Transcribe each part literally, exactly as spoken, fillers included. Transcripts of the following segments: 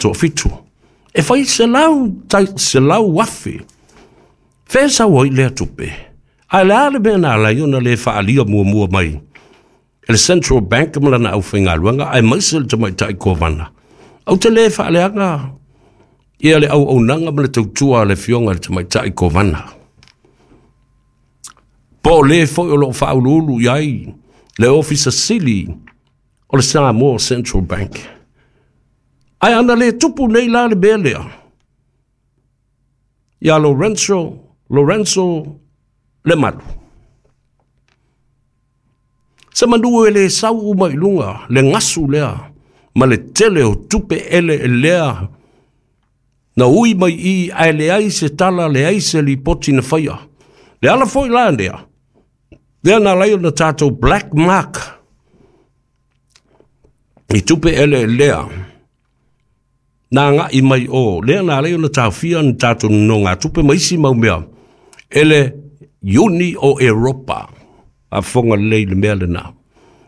Toafitu. E fai selau, tai, selau afe. Fea sau ai lea tupe. Ae le a le mea na ala ai ona le faaalia muamua mai e le Central Bank ma lana aufaigaluega aemaise le tamaitai Kovana. Ou te le faaleaga ia le auaunaga ma le tautua a le afioga i le tamaitai Kovana. Po o le foi o loo faauluulu i ai le Ofisa Sili o le Samoa Central Bank. Ae ana le tupu nei la le mea lea ia Lorenzo, Lorenzo Lemalu. Se manu e le sau uma i luga, le gasu lea, ma le tele o tupe ele e lea, na ui mai i ae leai se tala, leai se lipoti na faia. Le ala foi la lea, lea na ala ai ona tatou black mark i tupe ele lea, na agai mai o, lea na ala ai ona taofia ni tatou nonogatupe ma isi mau mea, e le Iuni o Eropa. Faafofoga lelei i le mea lena.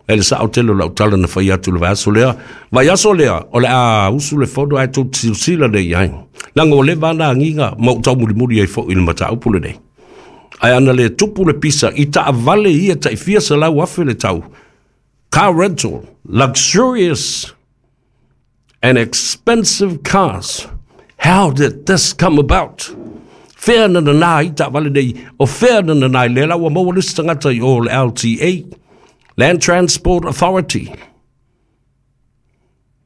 E le sao tele o lau tala na fai atu le vaiaso lea. Vaiaso lea, o le a usu le fono ae tou te silasila nei i ai. Leaga ua leva lava na agiga ma ou taumulimuli ai foi i le mataupu lenei. Ae ana le tupu le pisa i taavale ia tai fia selau afe le tau, car rental, luxurious and expensive cars. How did this come about? Fea na nanā ai taavale nei, o fea na nanā ai lea la ua maua le isi tagata i o le L T A, Land Transport Authority.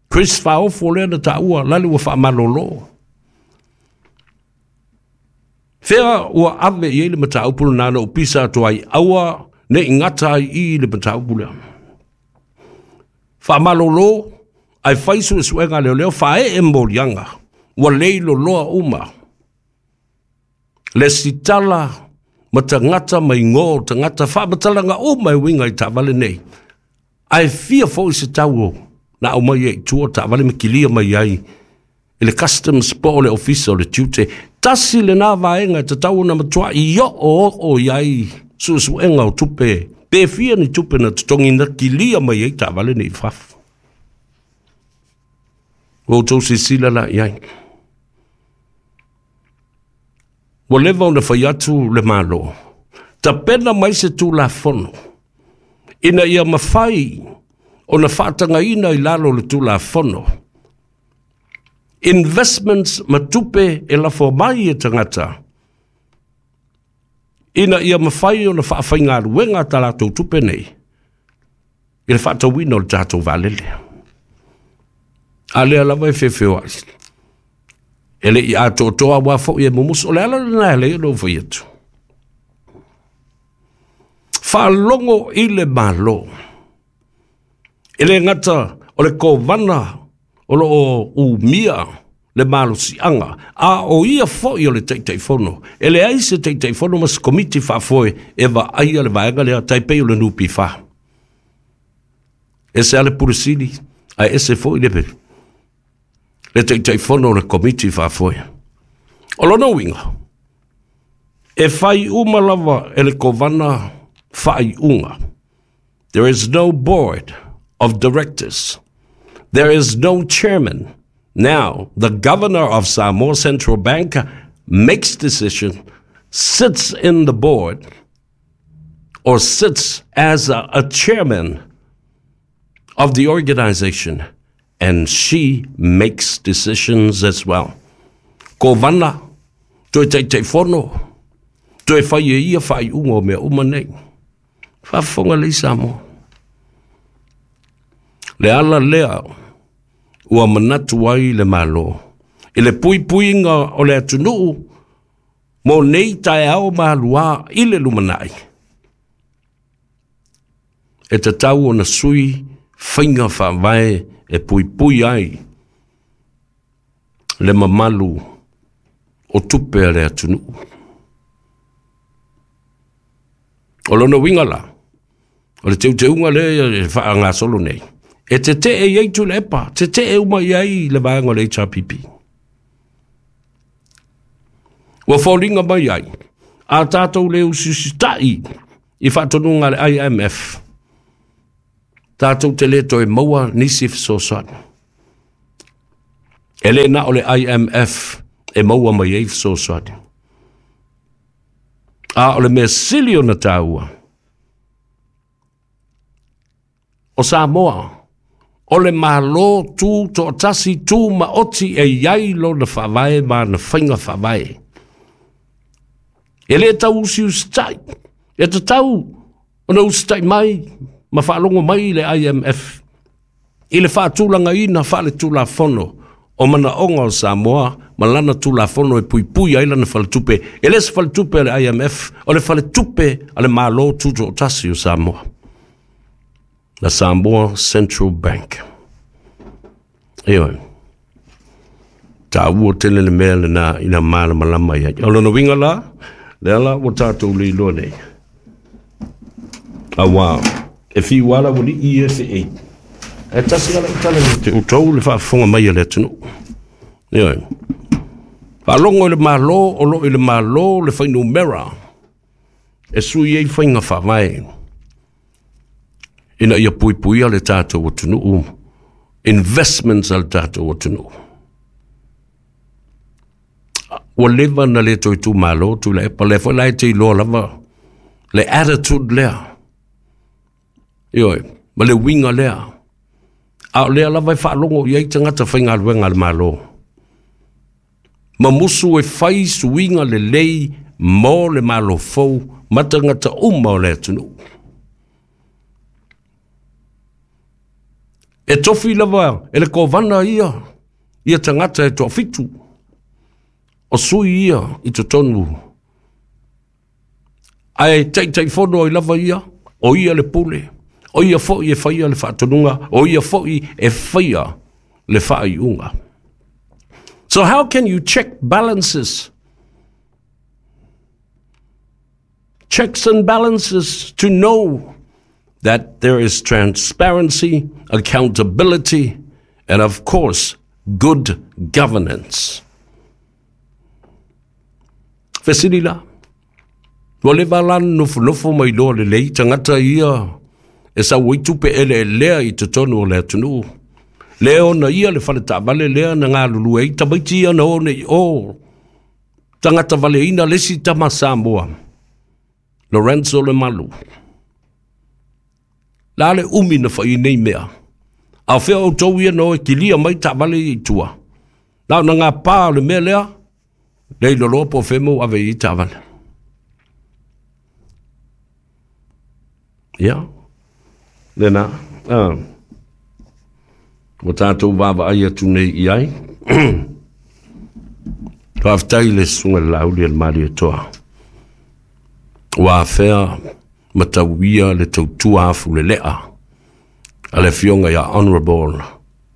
Chris Faofo lea na taua, lale ua faamalolo. Fea ua ave i ai le mataupu lena na ou pisa atu ai, aua ne i gata ai i le mataupu lea. Faamalolo, ae fai suesuega leoleo, faaee moliaga, ua leiloloa uma. Le sitala ma tagata ma igoa o tagata, faamatalaga uma e uiga i taavale nei. Ae fia foi se tau na aumai ai i tua taavale ma kilia mai ai i le customs po o le ofisa o le tiute. Tasi lena vaega e tatau ona matuai oo oo i ai suesuega o tupe, pe fia ni tupe na totogi na kilia mai ai taavale nei i fafo. Ua outou silasila la i ai. Ua leva ona fai atu le Malo, tapena mai se Tulafono, ina ia mafai ona faatagaina i lalo o le Tulafono, investments ma tupe e lafo mai e tagata, ina ia mafai ona faafaigaluega ta latou tupe nei, i le faatauina o le tatou vaalele. A lea lava e feofeoai. E le i atoatoa aua foi e mumusu. O le ala lena e alai ona ou fai atu. Faalogo i le Malo. E le gata o le Kovana o loo umia le malosiaga, a o ia foi o le Taitaifono. E leai se Taitaifono ma se komiti faafoe e vaaia le vaega lea tai pei o le N P F. Ese a le Pule Sili, ae ese foi le le Taitaifono o le komiti faafoe. O lona uiga, e fai uma lava e le Kovana faaiuga. There is no board of directors. There is no chairman. Now, the governor of Samoa Central Bank makes decision, sits in the board, or sits as a, a chairman of the organization, and she makes decisions as well. Kovana, toe Taitaifono, toe fai e ia faaiuga o mea uma nei. Faafofoga lei Samoa. Le ala lea ua manatu ai le Malo i le puipuiga o le atunuu mo nei taeao maluā i le lumanai. E tatau ona sui faiga faavae e puipui ai le mamalu o tupe a le atunuu. O lona uiga la, o le teuteuga lea e faagasolo nei, e tetee i ai Tuilaepa, tetee uma i ai le vaega o le H R P P. Ua foliga mai ai, a tatou le usiusitai i faatonuga a le I M F, tatou te le toe maua nisi fesoasoani. E le na o le I M F e maua mai ai fesoasoani. A o le mea sili ona taua, o Samoa, o le malo tu toatasi tu maoti e iai lona faavae ma na faiga faavae. E le tau usiusitai, e tatau ona usitai mai ma faalogo mai le I M F i le faatulagaina faaletulafono o manaoga o Samoa ma lana tulafono e puipui ai lana faletupe. E le se faletupe a le I M F, o le faletupe a le Malo Tutoatasi o Samoa, la Samoa Central Bank. Ioe, taua tele le mea lena ina malamalama i ai. O lona uiga la, lea la ua tatou leiloa nei. Auā, e fiu ala ua lii e fe ei. E tasi ala utala ni te utou le faafofoga mai a le atunuu. Ioe, faalogo i le Malo, o loo i le Malo le fuainumera e sui ai faiga faavae ina ia puipuia le tatou atunuu, investments a le tatou atunuu. Ua leva na le toe tumalo Tuilaepa, lea foi la e te iloa lava le attitude lea. Ioe, ma le uiga lea. A o lea lava e faalogo i ai tagata faigaluega a le Malo. Ma musu e fai suiga lelei mo le malo fou ma tagata uma o le atunuu. E tofi lava e le kovana ia, ia tagata e toafitu. O sui ia i totonu. Ae taitaifono ai lava ia, o ia le pule, o ia foi e faia le faatonuga, o ia foi e faia le faaiuga. So how can you check balances? Checks and balances to know that there is transparency, accountability, and of course, good governance. Fesili la, ua leva la nofonofo mai loa lelei tagata ia e sau ai tupe eleelea i totonu o le atunuu. Lea ona ia le faletaavale lea na galulue ai tamaiti ia na o nei o tagata valeina le isi tama Samoa, Lorenzo Lemalu. La le umi na fai nei mea. A o fea outou ia na o e kilia mai taavale i tua. Na o na ngā pā o le mea lea, le iloloa po o fea mo ave i taavale. Ia, lena, ah, ua tatou vaavaai atu nei i ai. Faafetai le susuga i le Laauli a le Malietoa. Ua afea ma tauia le tautua afulelea a le afioga ia Honorable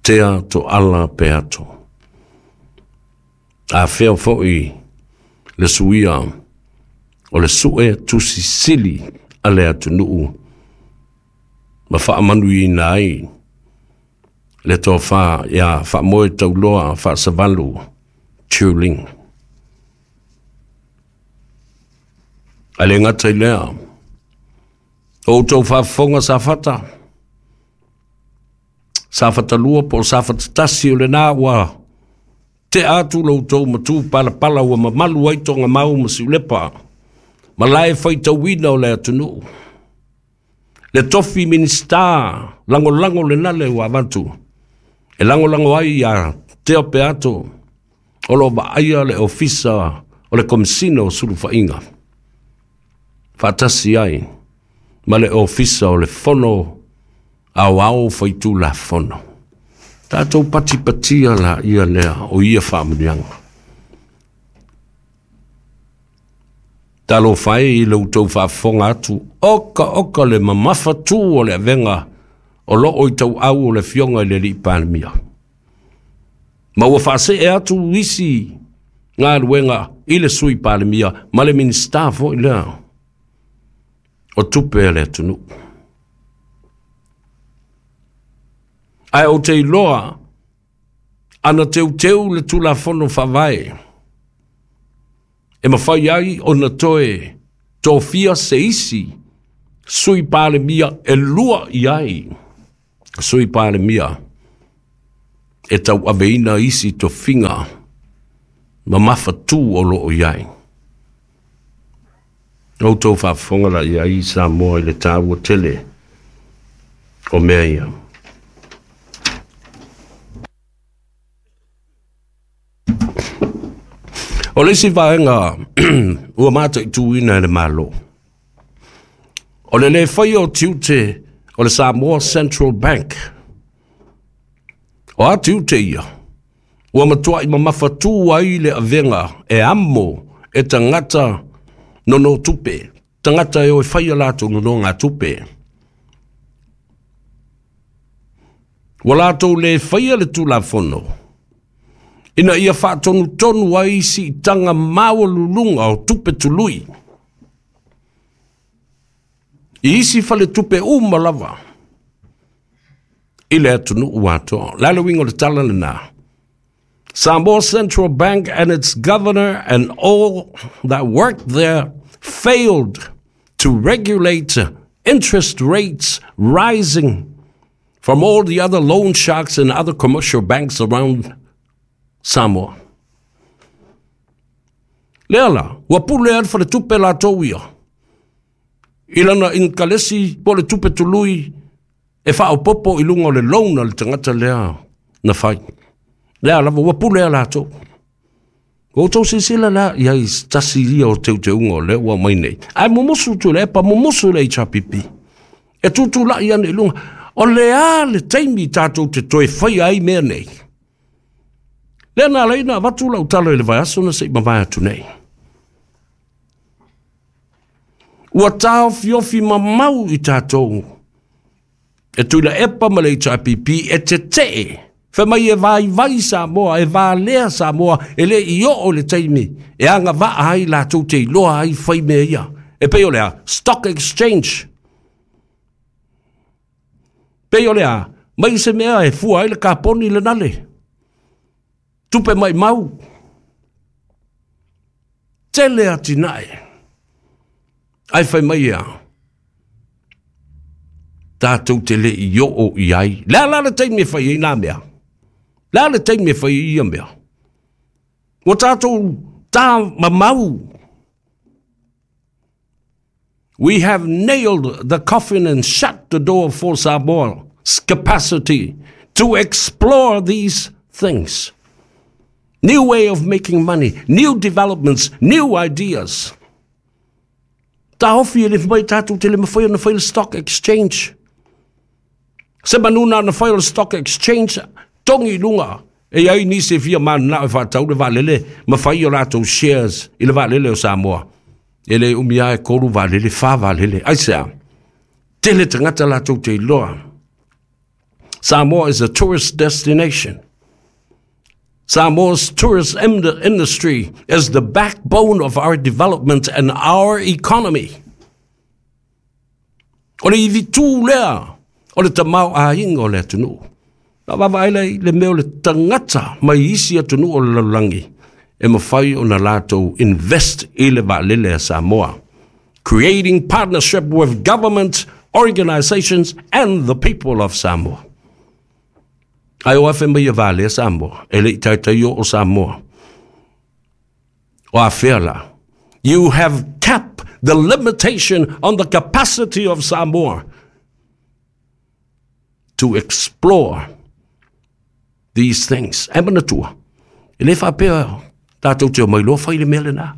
Tea Toala Peato. Afea foi le suia o le sue tusisili a le atunuu ma faamanuiina ai le tofa ia Faamoe Tauloa Faasavalu Tuling. A le gata i lea, o outou faafofoga Safata, Safata lua po o Safata tasi o lena ua tea atu lo outou matu palapala ua mamalu ai Togamau ma Siulepa, ma lae faitauina o le atunuu. Le tofi minista lagolago lena le ua avatu, e lagolago ai ia Tea Peato, o lo vaaia le ofisa o le Komesina o Sulufaiga, faatasi ai ma le ofisa o le Fono Aoao Faitulafono. Tatou patipatia la ia lea o ia faamanuiaga. Talofa e i le outou faafofoga atu, oka oka le mamafa tu o le avega o loo i tauau o le afioga i le alii Palemia. Ma ua faasee atu isi galuega i le sui Palemia ma le Minisita foi lea o tupe a le atunuu. Ae ou te iloa ana teuteu le tulafono faavae e mafai ai ona toe tofia se isi sui Palemia e lua i ai sui Palemia E tauaveina isi tofiga ma mafatū o loo i ai. Outou faafofoga la i ai Samoa i le tāua tele o mea ia. O le isi vaega ua mataituina e le Malo, o le lē faia o tiute o le Samoa Central Bank. O a tiute ia, ua matuai mamafatū ai le avega e amo e tagata nono tupe, tagata e o e faia latou nonogatupe. Ua latou lē faia le Tulafono ina ia faatonutonu ai siitaga maualuluga o tupe tului i isi faletupe uma lava i le atunuu atoa. Le a le uiga o le tala lenā? Samoa Central Bank and its governor and all that worked there failed to regulate interest rates rising from all the other loan sharks and other commercial banks around Samoa. Lea la, ua pule ai le faletupe latou ia i lana inikalesi po o le tupe tului e faaopopo i luga o le loan a le tagata lea na fai. Lea lava ua pule a latou. Ua outou silasila la i ai se tasi ia o teuteuga o lea ua aumai nei. Ae mumusu Tuilaepa, mumusu le H R P P. E tutulai ane i luga. O le a le taimi tatou te toe faia ai mea nei? Lea na ala ai ona avatu lau tala i le vaiaso na se i mavae atu nei. Ua taofiofi mamau i tatou e Tuilaepa ma le H R P P e tetee. Fai mai e vaivai Samoa, e valea Samoa, e le i oo le taimi e agavaa ai latou te iloa ai fai mea ia. E pei o le a? Stock exchange. Pei o le a? Mai se mea e fua ai le kaponi le nale. Tupe mai mau. Tele atinae. Ai fai mai ia. Tātou te le i oo i ai. Le a la le taimi e fai ai nā mea? Le a le taimi e fai ai ia mea? Ua tātou tā mamau. We have nailed the coffin and shut the door for Samoa's capacity to explore these things. New way of making money, new developments, new ideas. Taofi e le mai tātou te le mawhai o na whai le stock exchange. Se manuna na whai o le stock exchange, tongi lunga. E ai nisi e fia manana e whātau le vaalele, ma whai o lātou shares i le vaalele o Samoa. E le umia e koru vaalele, wha vaalele. Ai sea, tele tangata lātou te iloa. Samoa is a tourist destination. Samoa's tourist industry is the backbone of our development and our economy. O le ivi tū lea, o le tamau āinga o le atunuu. Na vavaai lai le mea o le tagata mai isi atunuu o le lalolagi e mafai ona latou invest i le vaalele a Samoa. Creating partnership with government, organizations and the people of Samoa. Ai o afe mai e vaalea Samoa, e le i taitai o Samoa. O afea la. You have capped the limitation on the capacity of Samoa to explore these things. E manatua, e le whapea tātou te o mai loa whai le mea lena.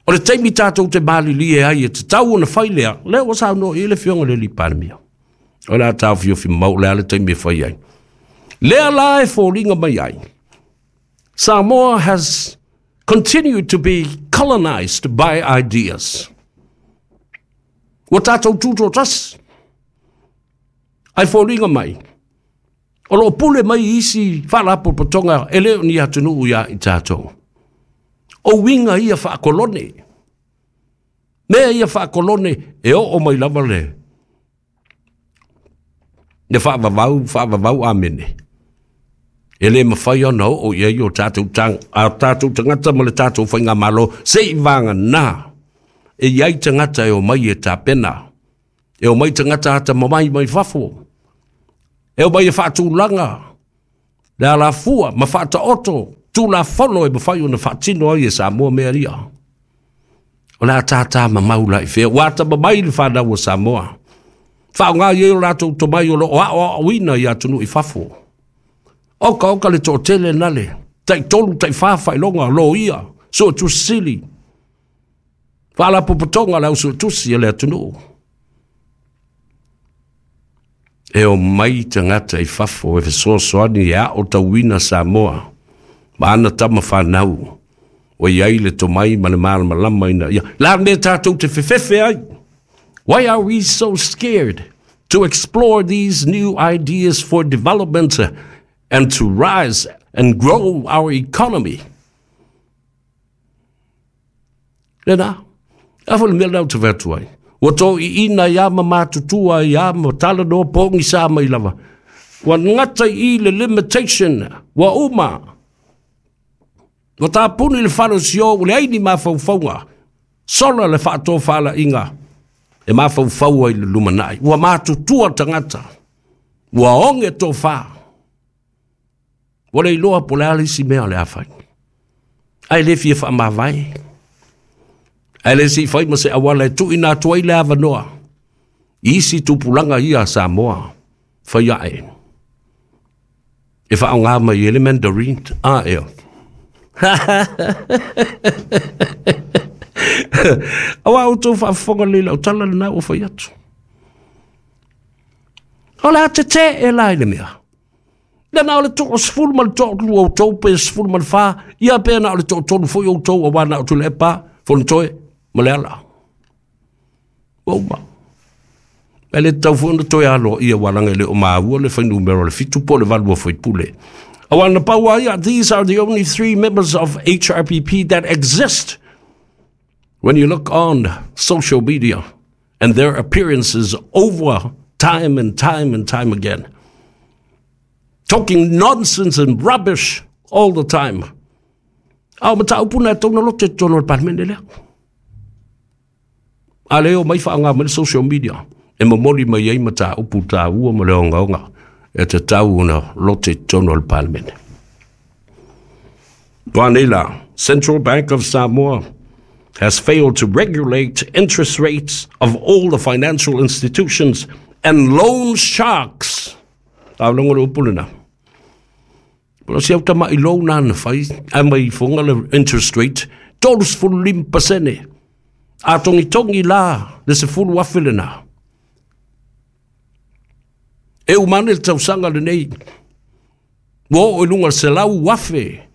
O le taimi tātou te malili e ai e te tau ona whai lea, lea o sao no i le fionga le li palemia. O la tāu fiofi mau lea le taimi e whai ai. Lea la e fōlinga mai ai. Samoa has continued to be colonized by ideas. Ua tātou tūtō tasi. Ai fōlinga mai. O loo pule mai isi whaalapopotonga e leo ni atunuu ia i tātou. O winga ia whaakolone. Mea ia whaakolone e oo mai lava le. Le whaavavau, whaavavau amene. E le mawhai ona o ia i o tātou tang, a tātou tangata ma le tātou whainga malo, se i vanga nā. E iai tangata e o mai e tāpena. E o mai tangata ata mamai mai fafo. E o mai e whaatūlanga. Le alafua ma faataoto Tulafono e mafai ona faatino ai e Samoa mea ia. O le a tātā mamau la i fea, ua atamamai le fanau o Samoa. Faaaoga i ai o latou tomai o loo aoaoina i atunuu i fafo. Oka oka le toatele nale, taitolu taifā faailoga, loia, suetusi sili, faalapotopotoga le au suetusi a le atunuu. E omai tagata i fafo e fesoasoani e aotauina Samoa ma ana tama fanau, ua i ai le tomai ma le malamalama ina ia. La mea tatou te fefefe ai. Why are we so scared to explore these new ideas for development and to rise and grow our economy? Lena, a fo le mea lena ou te fai atu ai. Ua toiina ia ma matutua ia ma talanoa pogisa mai lava. Ua gata i le limitation, ua uma. Ua tapuni le fale o sio, ua leai ni mafaufauga. Sola le faatofalaiga e mafaufau ai le lumanai. Ua matutua tagata, ua oge tofā. Ua le iloa po o le a le isi mea o le a fai. Ae le fia faamavae. Ae le se i fai ma se auala e tuuina atu ai le avanoa i isi tupulaga ia a Samoa fai ae e faaaoga mai ai le Mandarin. A ea. Aua outou faafofoga lelei i lau tala lena ua fai atu. O le a tetee la i le mea. Lea na o le toasefulu ma le toalua outou pe sefulu ma le fa, ia pe na o le toatolu foi outou aua na o Tuilaepa, Fonotoe ma Leala. Ua uma. E le tatau foi ona toe aloaia aua leaga e le o maua le fuainumera o le fitu po o le valu o faipule. Aua na pau lava ia, these are the only three members of H R P P that exist when you look on social media and their appearances over time and time and time again. Talking nonsense and rubbish all the time. A o mataupu na e tatau ona lote i totonu o le Palemene lea. A lea e omai faaaoga mai le social media e momoli mai ai mataupu taua ma le ogaoga e tatau ona lote i totonu o le Palemene. Ua nei la, Central Bank of Samoa has failed to regulate interest rates of all the financial institutions and loan sharks. Taaloga le upu lena. O si au tama'i loan na fai, ae mai ifoga le interest rate, tolu sefulu lima pasene. A togitogi la le sefulu afe lena. E uma ane le tausaga lenei, ua oo i luga o le selau afe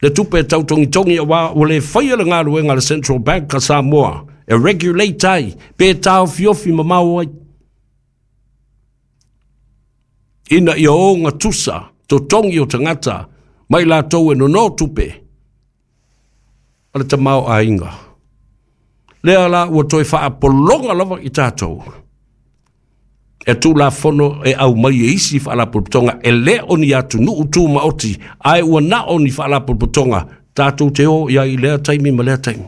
le tupe e tautogitogi aua ua le faia le galuega a le Central Bank a Samoa e regulate ai pe taofiofi mamao ai ina ia ogatusa totogi o tagata mai latou e nono tupe o le tamaoaiga. Lea la ua toe faapologa lava i tatou e Tulafono e aumai e isi faalapotopotoga e le o ni atunuu tumaoti ae ua na o ni faalapotopotoga tatou te o i ai i lea taimi ma lea taimi.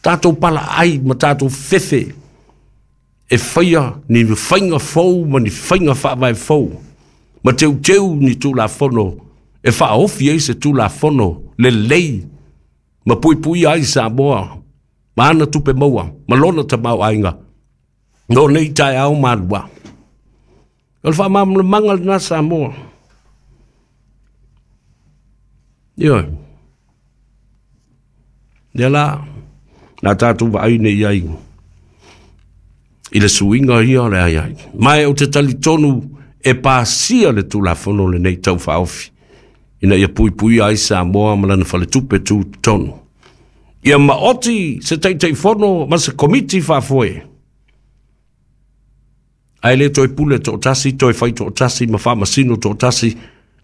Tatou palaai ma tatou fefe e faia ni faiga fou ma ni faiga faavae fou ma teuteu ni Tulafono e faaofi ai se Tulafono lelei ma puipuia ai Samoa ma ana tupe maua ma lona tamaoaiga no nei taeao malua. O le faamalamalamaga lena Samoa. Ioe. Lea la, na tatou vaai nei ai i le suiga ia o le ai ai. Ma e ou te talitonu e pasia le Tulafono lenei tau faaofi ina ia puipuia ai Samoa ma lana faletupe tutotonu. Ia maoti se Taitaifono ma se komiti faafoe. Ae le toe pule toatasi, toe fai toatasi ma faamasino toatasi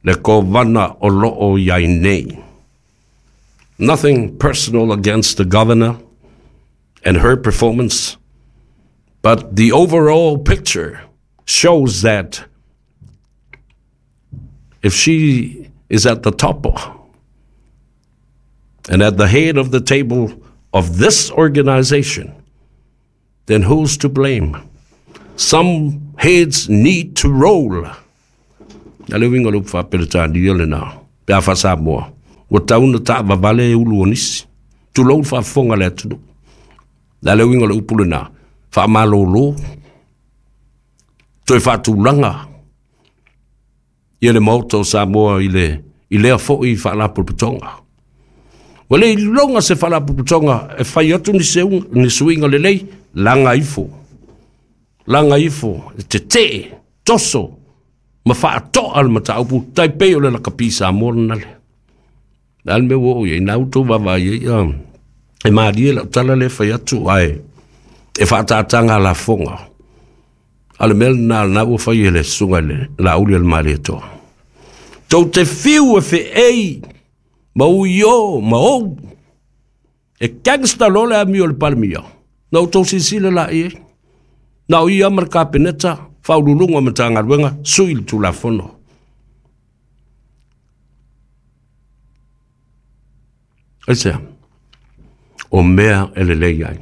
le kovana o loo i ai nei. Nothing personal against the governor and her performance, but the overall picture shows that if she is at the top and at the head of the table of this organization, then who's to blame? Some heads need to roll. A le uiga o le upu faa-Peretania lenā pe a faa-Samoa, ua tau na taavavale e ulu o nisi, tulou le faafofoga a le atunuu. Le a le uiga o le upu lenā, faamalōlō, toe faatulaga ia le Maota o Samoa i le i lea foi faalapotopotoga. Ua le iloga se faalapotopotoga e fai atu ni seuga, ni suiga lelei, laga ifo, laga ifo, e tetee, toso, ma faatoa le mataupu, tai pei o le lakapi Samoa lena le. Le a le mea ua oo i ai, na outou vaavaai ai, ia, e malie lau tala lea e fai atu, ae e faataataga lafoga. A le mea lena lena ua fai e le susuga i le Laauli a le Malietoa. Tou te fiu e feei ma ui o ma ou. E gangster loa le amio o le Palemia. Na outou silasila la i ai. Na o ia ma le Kapeneta, faauluuluga o Matagaluega, sui le Tulafono. Aisea? O mea e lelei ai.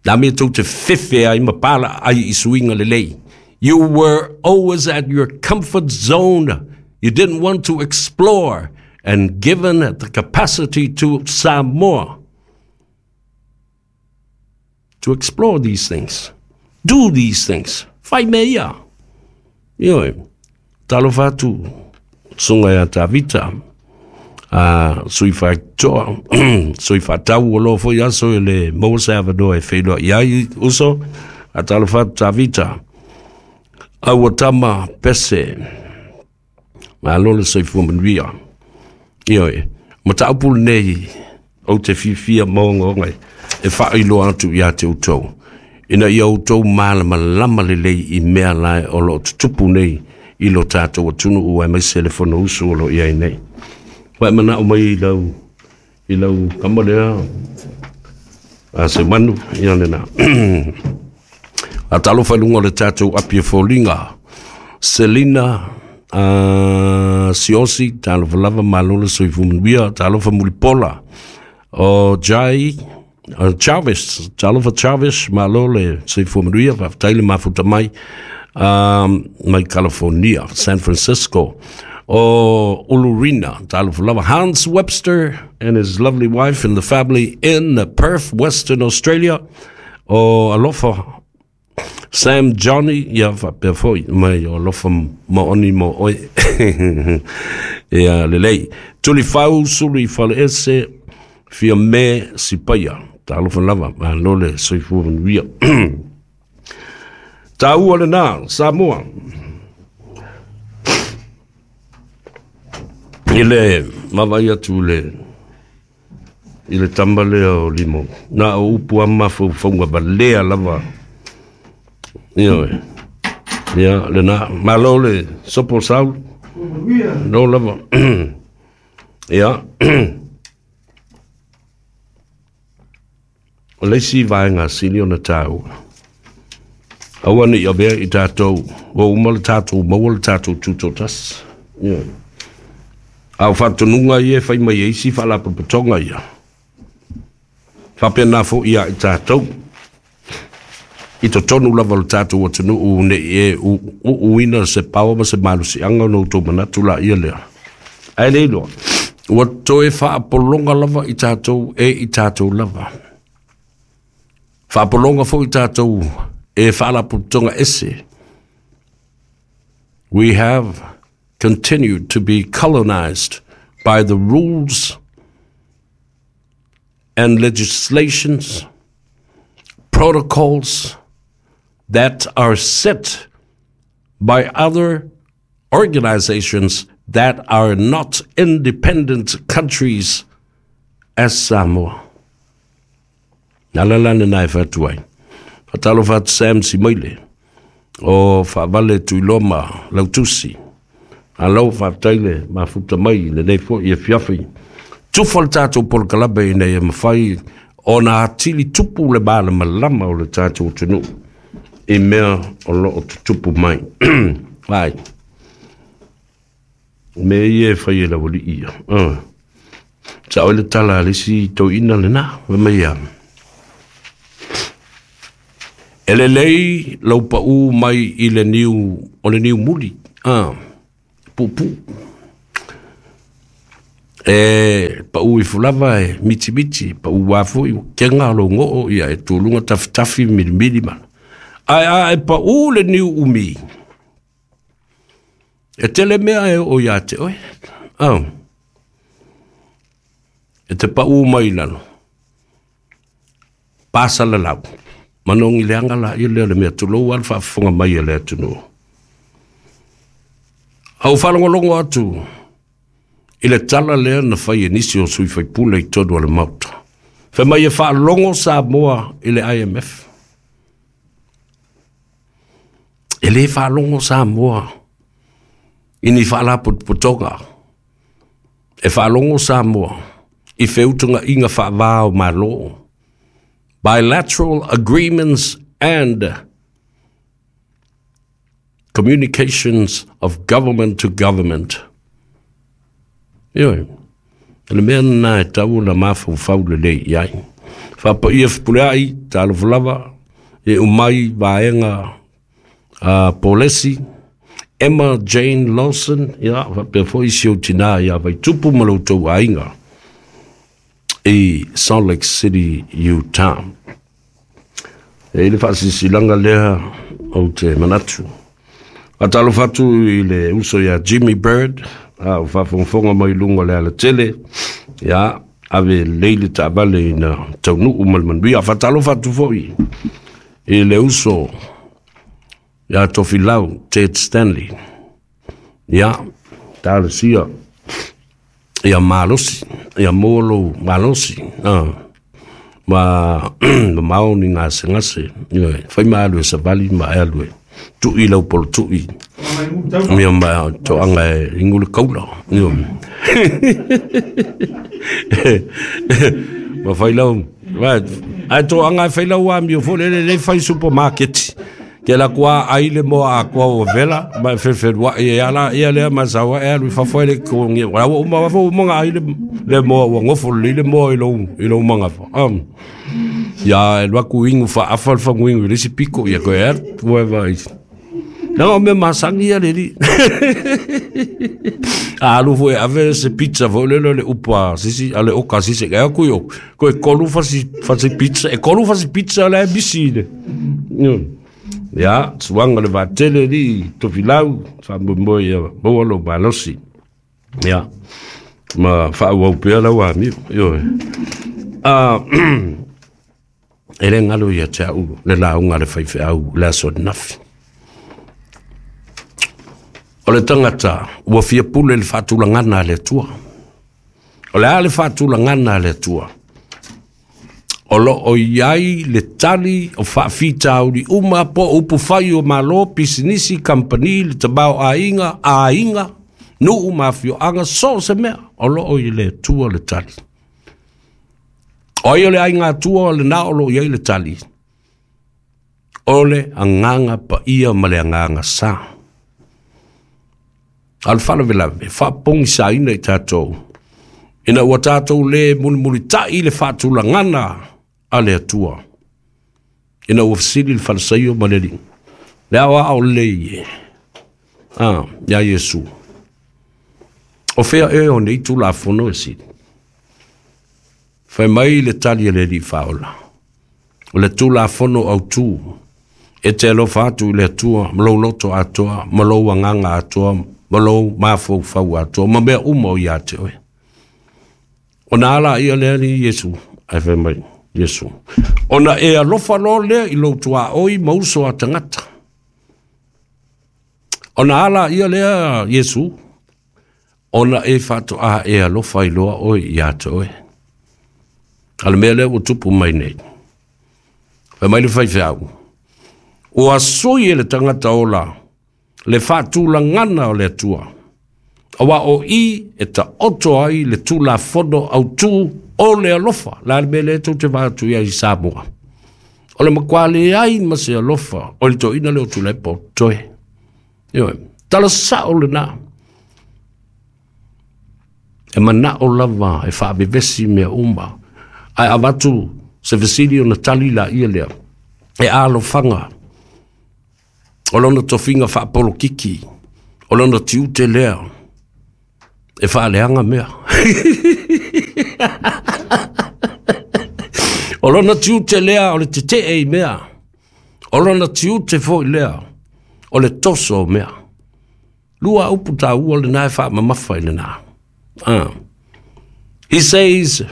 Na mea tou te fefe ai ma pala ai i suiga lelei. You were always at your comfort zone. You didn't want to explore, and given the capacity to Samoa to explore these things, do these things. Fai mea ia. Ioe, talofa atu, susuga ia Tavita, a sui faatoa, sui faatau o loa foi aso e le maua se avanoa e feiloai ai uso, a talofa atu Tavita, aua tama pese, malo le soifua manuia. Ioe, mataupu lenei ou te fiafia ma ogaoga e faailoa atu ia te outou, ina ia outou malamalama lelei i mea lae o lo o tutupu nei i lo tatou atunuu aemaise le Fonousu o lo o i ai nei. Ua e manao mai i lau, i lau kama lea, a se manu, ia lena. A talofa i luga o le tatou api e foliga, Selina uh, Siosi, talofa lava, malo le soifua manuia, talofa Mulipola, o Jai, uh, Jarvis, talofa Jarvis, malo le soifua manuia, faafetai le mafuta mai, um, mai California, San Francisco. O Ulurina, talofa lava, Hans Webster and his lovely wife and the family in Perth, Western Australia. O alofa Sam Johnny, ia faapea foi mai o alofa maoni mo oe. Ia lelei. Tulifau sulu i faleese, fia me sipaia. Talofa lava, malo le soifua manuia. Taua lena, Samoa. I le vaavaai atu i le i le tama lea o Limo. Na o upu a mafaufauga valea lava. Ioe. Ia, lena. Malo le sopo Saulu. No lava. Ia. O le isi vaega sili ona taua, aua ne i avea i tatou, ua uma le tatou maua le tatou tutoatasi. Ioe. A o faatonuga ia e fai mai e isi faalapotopotoga ia, faapena foi ia i tatou, i totonu lava o le tatou atunuu ne i e uuina se paoa ma se malosiaga ona outou manatu laia lea. Ae le iloa, ua toe faapologa lava i tatou e i tatou lava. Faapologa foi i tatou e faalapotopotoga ese. We have continued to be colonized by the rules and legislations, protocols that are set by other organizations that are not independent countries as Samoa. Na la la lena e fai atu ai. Faatalofa atu Sam Simaile o Faavale Tuiloa ma Lautusi. Malo faafetai le mafuta mai i lenei foi afiafi. Tufa le tatou polokalame ina ia mafai ona atili tupu le malamalama o le tatou atunuu i mea o lo o tutupu mai. Ai, mea ia e fai e le aualii ia. Uh. Sao ai le tala a le isi toeaina lena, fai mai ia, E lelei lau pau mai i le niu, o le niu muli. Uh. Puupuu. E pau i fulava e miti miti, pau wafo i kenga lo ngoo ia e tūlunga tafitafi milimili mana. Ai a e pau le niu umi. E tele mea e o ia te oe. Oh. E te pau mai lalo. Pasa la lau. Manongi le anga la i leo le mea tulou al whaafonga mai e le atunu. Au whalongolongo atu. I le tala lea na whai e nisi o sui whaipule i tonu ale mauta. Whai mai e whaalongo Samoa i le I M F. E le whaalongo Samoa i ni whaalapotopotoga. E whaalongo Samoa i wheutunga inga whaavao malo. Bilateral agreements and communications of government to government. Ioi, le mea nā e tau na mawhau le lei iai. Whapa ia whipule ai, tālofa lava, e umai vaenga uh, Polesi, Emma Jane Lawson, ia, whapea fo isi o tina ia vai tupu maloutou ainga i Salt Lake City, Utah. E ile whaasisilanga lea o te manatu. A tālofa atu i le uso ia Jimmy Bird, a o whawhongfonga mai lunga le ala tele, ia, ave leile taavale ina taunuu ma le manuia. Faatalofa atu foi i le uso ia Tofilau Ted Stanley, ia, talosia ia malosi, ia molo malosi, ah, ma ma mao ni ngasengase, ia, fai maalu e savali ma alu e tui lau polo tui. Ia ma toanga e ingule kaula. Ia. Ma fai lau. Ai toanga e fai lau a mio fo le le fai supermarket. Ke la kua ai le moa a kua o vela. Ma fefelua e ala ia lea ma sawa e alu fafo le kongi. Wala o ma wafo manga ai le le moa wa ngofo le le moa i lou i lou manga fa. Um. Ia e luaku ingu fa afa fa nguingu le si piko ia koe er ua vai. Nanga o mea masangi ia le li. A alu fo e ave se pizza fo le le upa sisi ale oka sisi ka ku yo. Ko e kolu fasi fasi pizza e kolu fasi pizza la bisi le. Ia suanga le vatele li Tofilau fa mo ia mo lo balosi. Ia ma fa au pea la wa mi yo. Ah e le ngalo ia te au le launga le faifeau le aso nafi. O le tangata ua fia pule le faatulagana a le Atua. O le a le faatulagana a le Atua. O lo o iai le tali o faafitauli uma po upu fai o malo, pisinisi, kampani, le tabao aiga, aiga, nuu mafioaga, so se mea. O lo o i le Atua le tali. O ia le aiga atua o le na o lo iai le tali. O le agaga paia ma le agaga sa. A le faalavelave, faapogisaina i tatou. Ina ua tatou le mulimulitai le faatulagana a le Atua. Ina ua fesili le falesaio ma le alii. Le ao ao lelei e. Ah, ia Iesu. O fea e o nei tulafono e sili. Fai mai le tali a le alii faaola. O le tulafono autū. E te alofa atu i le Atua, ma lou loto atoa, ma lou agaga atoa, ma lou mafaufau atoa, ma mea uma o ia te oe. Ona ala ia lea ni Iesu, ai fai mai, Iesu. Ona e alofa loa lea i lou tuaoi ma uso a tagata. Ona ala ia lea Iesu, ona e faatoa e alofa i loa oe ia te oe. A le mea lea ua tupu mai nei. Fai mai le faifeau. Ua sui e le tagata ola, le faatulagana o le Atua. Aua o i e taoto ai le tulafono autū o le alofa. La le mea lea tou te vaatu ia i Samoa. O le makuā leai ma se alofa o le toina le o Tuilaepa o toe. Ioe, tala sao lenā. E manao lava e faavevesi mea uma. Ae avatu se fesili ona tali la ia lea. E alofaga o lona tofiga faapolokiki. O lona tiute lea e faaleaga mea. O lona tiute lea o le tetee i mea. O lona tiute foi lea o le toso o mea. Lua upu tāua lena e faamamafa i lena. Ah. He says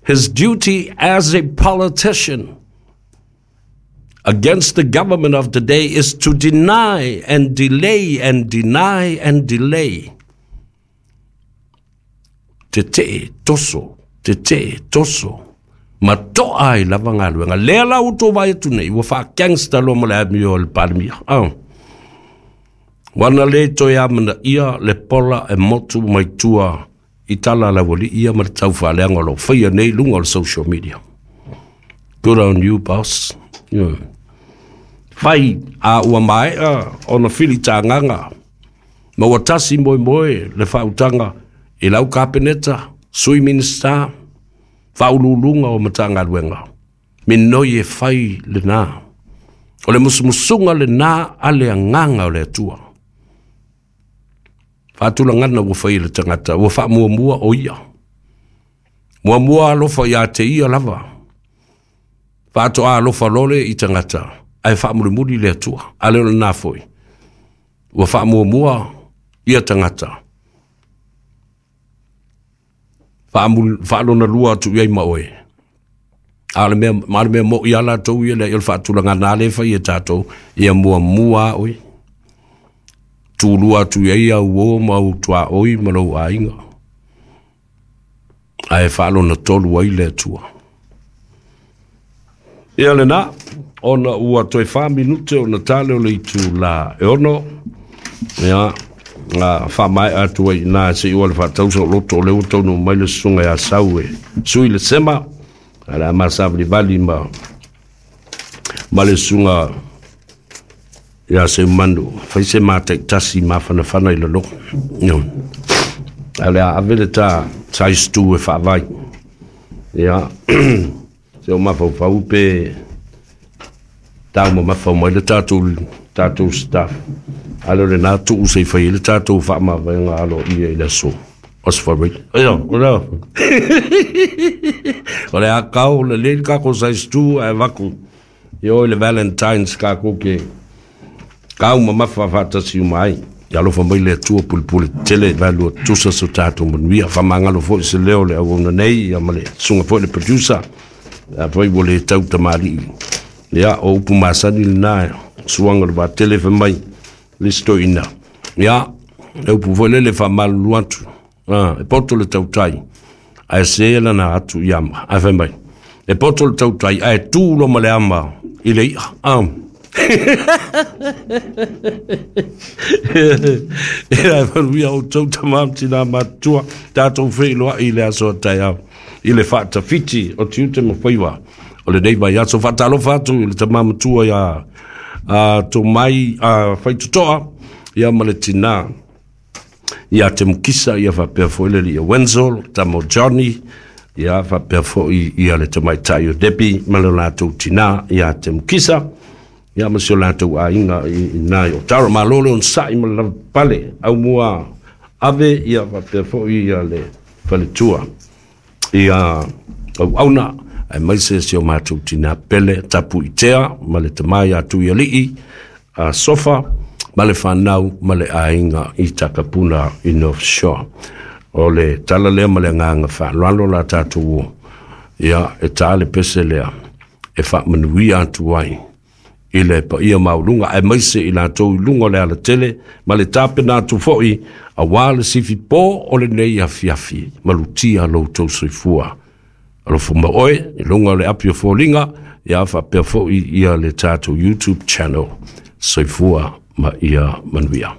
his duty as a politician against the government of today is to deny and delay and deny and delay. Tetee toso, tetee toso. Ma to'a ai lava galuega. Lea la ua tou vaai atu nei, ua faagangster loa ma le amio o le Palemia. Oh. Ua na lē toe amanaia le pola e motu mai tua i tala a le auali'i ia ma le taufaaleaga o loo faia nei luga o le social media. Good on you, boss. Yeah. Fai a ua mae'a ona filitagaga ma ua tasi moemoe le faautaga i lau Kapeneta, sui Minista, faauluuluga o Matagaluega. Minoi e fai lenā. O le musumusuga lenā a le agaga o le Atua. Faatulagana ua fai le tagata, ua faamuamua o ia. Muamua alofa iā te ia lava. Faatoa alofa lole i tagata, ae faamulimuli le Atua. A le o lenā foi. Ua faamuamua ia tagata. Faalona lua atu i ai ma oe. A le mea, ma le mea mo i ala tou ia le o le faatulagana le fai e tātou, ia muamua a oe. Tulua atu i ai au o ma au tuaoi ma lou aiga. Ae faalona tolu ai le Atua. Ia lenā, ona ua toe whā minute o na tale o le itu la e ono, ia, nga whaamae atu ai nā se iwa le whaatausa o loto o le ua taunu mai le susuga ia sau e sui le sema, a le a savalivali ma, ma le susuga ia se manu, fai se mataitasi mafanafana i lalo. No. A le a ave le tā size two e faavai. Ia, se o mafaufau pe tau mamafa mai le tātou, tātou staff. A le o lenā tuu se i fai le tātou faamavaega alo ia i le aso. Osfari. Ia, o lea. O le a kau, le le kako size two ae vaku. Ia o le Valentine's kako ke kau mamafa faatasi uma ai. Ia alofa mai le Atua pulepule tele valua tusa so tātou manuia. Faamagalo foi se leo le auauna nei ia ma le susuga foi le producer. A foi ua le tau tamalii. Ia, o upu masani lenā, suaga o le vatele fai mai le isi toeaina. Ia, e upu foi lele faamalulu atu. Ah, e poto le tautai, ae se lana atu i ama. Ae fai mai, e poto le tautai, ae tu lo ma le ama i le i'a. Ah. Ia e manuia outou tamā ma tinā matutua, tatou feiloai i le aso a taeao i le faatafiti o tiute ma faiva o lenei vaiaso. Faatalofa atu i le tamā matua ia a Tomai a Faitotoa ia ma le tinā ia te Mukisa ia faapea foi le alii Wenzel, tama o Johnny, ia faapea foi ia le tamaitai o Debbie ma le latou tinā ia te Mukisa ia ma si o latou aiga i ina i Otara. Malo le onosai ma le lavapapale aumua ave ia faapea foi ia le faletua ia auauna aemaise si o matou tinā pele Tapuitea ma le tamā ia Tuialii a Sofa ma le fanau ma le aiga i Takapuna i North Shore. O le tala lea ma le agaga faaaloalo la tatou o ia e tā le pese lea e faamanuia atu ai i le paia maualuga aemaise i latou i luga o le alatele ma le tapena atu foi auā le sifi pō o lenei afiafi. Malutia lo outou soifua. Alofa ma oe i luga o le api o foliga ia faapea foi ia le tatou YouTube channel. Soifua ma ia manuia.